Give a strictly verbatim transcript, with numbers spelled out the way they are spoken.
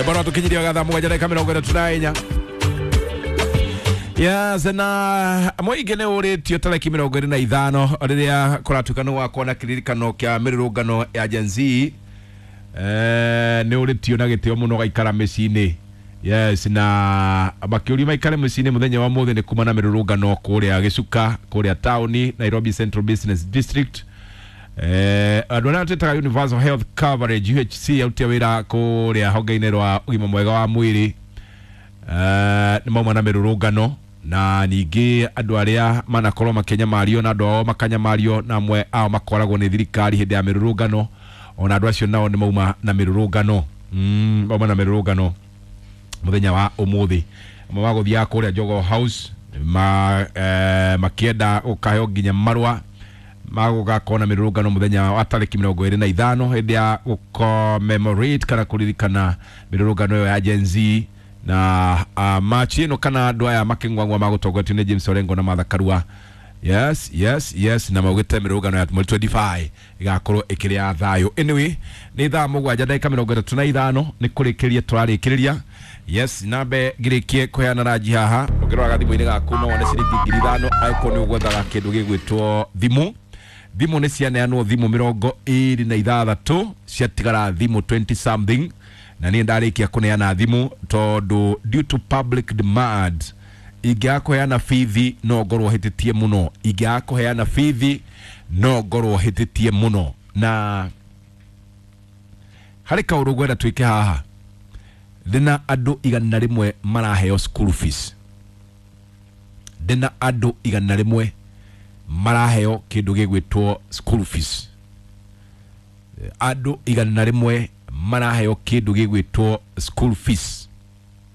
Bwana tukinyiria gathaa mũgwanja ndagĩka mĩrongo ĩtatũ na inya. Yes, na mũingĩ nĩ ũrĩtio tarĩki mĩrongo ĩrĩ na ithano rĩrĩa kũratuĩka nĩ gwakorwo na kĩririkano kĩa mĩrũrũngano ya Gen Z. Eh, nĩ ũrĩtio na gĩtĩo mũno gaikara mĩciĩ-inĩ. Yes, na makĩũrio maikare mĩciĩ-inĩ mũthenya wa mũthĩ nĩ kuma na mĩrũrũngano kũrĩa Gĩcuka, kũrĩa taũni Nairobi Central Business District. Eh, andũ arĩa twĩtaga Universal Health Coverage U H C aruti a wĩra kũrĩa honge-inĩ rwa ũgima mwega wa mwĩrĩ, eh, nĩ mauma na mĩrũrũngano, na ningĩ andũ arĩa manakorwo makĩnyamario na andũ ao makanyamario na amwe ao makoragwo nĩ thirikari hĩndĩ ya mĩrũrũngano, ona andũ acio nao nĩ mauma na mĩrũrũngano. Mm, mauma na mĩrũrũngano mũthenya wa ũmũthĩ. Amwe magũthiaga kũrĩa Jogoo House ma, eh, makĩenda gũkaheo nginya marũa magũgakorwo na mĩrũrũngano mũthenya wa tarĩki mĩrongo ĩrĩ na ithano hĩndĩ ya gũcommemorate kana kũririkana mĩrũrũngano ĩyo ya Gen Z. Na, uh, machi ĩno kana andũ aya makĩng'wang'wa magũtongoretio nĩ James Orengo na Martha Karua. Yes, yes, yes, na maugĩte mĩrũrũngano ya mweri twenty-five ĩgakorwo ĩkĩrĩ ya thayũ. Anyway, nĩ thaa mũgwanja ndagĩka mĩrongo ĩtatũ na ithano nĩ kũrĩkĩrĩria tũrarĩkĩrĩria. Yes, nambe ngĩrĩkie kũheana ranji haha. Ũngĩrora gathimũ-inĩ gaku no wone ciringi ngiri ithano angĩkorwo nĩ ũgwethaga kĩndũ gĩgwĩtwo thimũ. Thimũ nĩ cianeanwo thimũ mĩrongo ĩrĩ na ithathatũ, ciatigara thimũ twenty something, na niĩ ndarĩkia kũneana thimũ tondũ due to public demand ingĩaga kũheana bithi no ngorwo hĩtĩtie mũno, ingĩaga kũheana bithi no ngorwo hĩtĩtie mũno. Na harĩ kaũndũ ngwenda twĩke haha, ndĩna andũ igana rĩmwe maraheo school fees, ndĩna andũ igana rĩmwe maraheo kĩndũ gĩgwĩtwo school fees, andũ igana rĩmwe maraheo kĩndũ gĩgwĩtwo school fees.